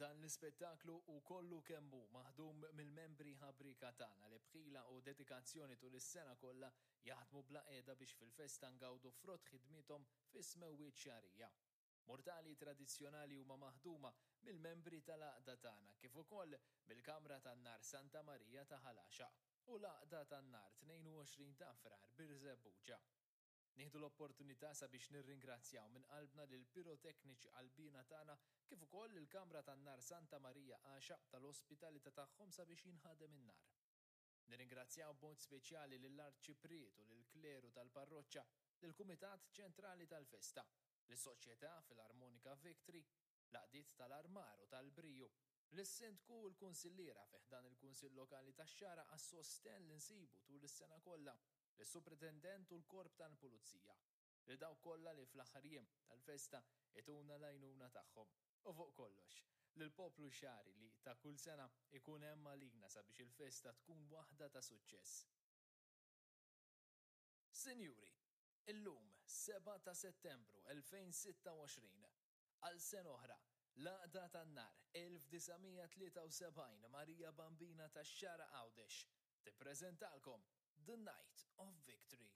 Dan l-ispettaklu hu kollu kemm hu maħdum mill-membri ħabrieka tagħna li b'ħila u dedikazzjoni tul is-sena kollha jaħdmu bla qiegħda biex fil-festa ngawdu frott ħidmiethom fis-smewwiet xagħrija. Murtali tradizzjonali huma maħduma mill-membri tal-għaqda tagħna kif ukoll mill-Kamra tan-Nar Santa Marija ta' Ħal Għaxaq u l-Għaqda tan-Nar 22 ta' Frar Birżebbuġa. Nieħdu l-opportunità sabiex nirringrazzjaw minn qalbna lill-pirotekniċi qalbiena tagħna kif ukoll lill-Kamra tan-Nar Santa Marija Għaxaq tal-ospitalità tagħhom sabiex jinħadem in-nar. Nirringrazzjaw b'mod speċjali lill-Arċipriet u lill-Kleru tal-Parroċċa, lill-Kumitat Ċentrali tal-Festa, lis-Soċjetà Filarmonika Victory, l-għaqdiet tal-Armar u tal-Briju, lis-Sindku u l-Kunsilliera fi ħdan il-Kunsill Lokali tax-Xagħra għas-sostenn li nsibu tul is-sena kollha, lis-Supretendent u l-Korp tal-Pulizija, lil dawk kollha li fl-aħħar jiem tal-festa ituna l-għajnuna tagħhom, u fuq kollox, lill-poplu Xagħri li ta' kull sena jkun hemm għalina sabiex il-festa tkun waħda ta' suċċess. Sinjuri, illum, 7 ta' Settembru 2026, Għal sena oħra, l-Għaqda tan-Nar 1973 Marija Bambina tax-Xagħra Għawdex tippreżentalkom The Night of Victory.